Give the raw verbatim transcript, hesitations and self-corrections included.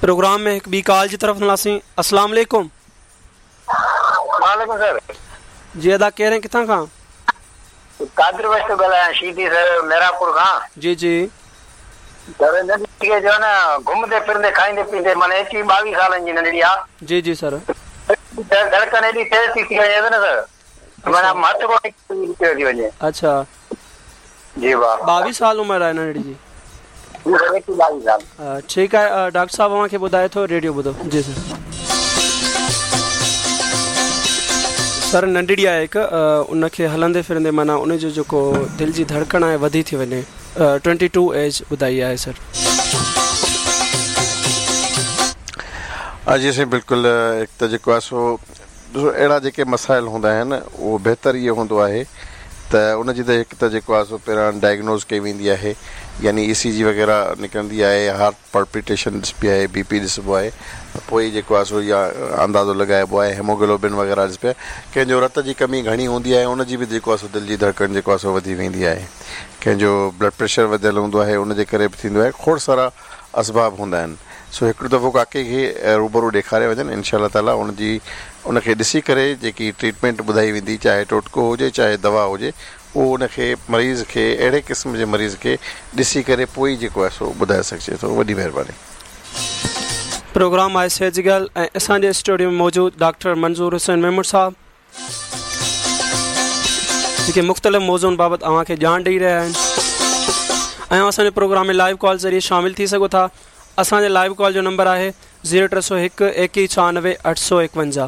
Programme में हिकु ॿी कॉल जी तरफ़ हलंदासीं। अस्सलाम वालेकुम। वालेकुम सर। जी अदा, केरु ऐं किथां खां? कादिर बख्श थो ॻाल्हायां, शीदी सर, मेरापुर खां। जी जी। सर, नंढड़ी खे जो न घुमंदे फिरंदे खाईंदे पीअंदे माना एकवीह ॿावीह सालनि जी नंढड़ी आहे। जी जी सर। धड़कन एॾी तेज़ थी थी वञे न सर, माना मत को पियो थी वञे। अच्छा। जी वाह। ॿावीह साल उमिरि आहे नंढड़ी जी? जी सर, एकवीह ॿावीह साल। ठीकु आहे, डॉक्टर साहिबु अव्हांखे ॿुधाए थो, रेडियो ॿुधो। जी सर। सर, नंढड़ी आहे हिकु, उनखे हलंदे फिरंदे माना उनजो जेको दिलि जी धड़कण आहे वधी थी वञे। ट्वेंटी टू एज ॿुधाई आहे सर। जी साईं, बिल्कुलु। हिकु त जेको आहे सो ॾिसो, अहिड़ा जेके मसाइल हूंदा आहिनि, उहो बहितर इहो हूंदो आहे त उनजी त हिकु त जेको आहे सो पहिरियां डायग्नोज़ कई वेंदी आहे, यानी ई सी जी वग़ैरह निकिरंदी आहे, हार्ट पाल्पिटेशन ॾिसबी आहे, बी पी ॾिसबो आहे, त पोइ जेको आहे सो इहा अंदाज़ो लॻाइबो आहे, हेमोग्लोबिन वग़ैरह ॾिसबी आहे। कंहिंजो रत जी कमी घणी हूंदी आहे, उनजी बि जेको आहे सो दिलि जी धड़कन जेको आहे सो वधी वेंदी आहे। कंहिंजो ब्लड प्रेशर वधियल हूंदो आहे, उनजे करे बि थींदो आहे। खोड़ सारा असबाब हूंदा आहिनि। सो हिकिड़ो दफ़ो काके खे रूबरू ॾेखारे वञनि, इनशा ताला उनजी उनखे ॾिसी करे जेकी ट्रीटमेंट ॿुधाई वेंदी, चाहे टोटको हुजे चाहे दवा हुजे, उहो उनखे मरीज़ खे, अहिड़े क़िस्म जे मरीज़ खे ॾिसी करे पोइ जेको आहे सो ॿुधाए सघिजे थो। वॾी महिरबानी। प्रोग्राम आहे सेहत जी ॻाल्हि ऐं असांजे स्टूडियो में मौजूदु डॉक्टर मंज़ूर हुसैन मेमण साहिबु जेके मुख़्तलिफ़ मौज़ूनि बाबति अव्हांखे ॼाण ॾेई रहिया आहिनि ऐं असांजे प्रोग्राम में लाइव कॉल ज़रिए शामिल थी सघो था। असांजे लाइव कॉल जो नंबर आहे ज़ीरो टे सौ हिकु एकवीह छानवे अठ सौ एकवंजाह।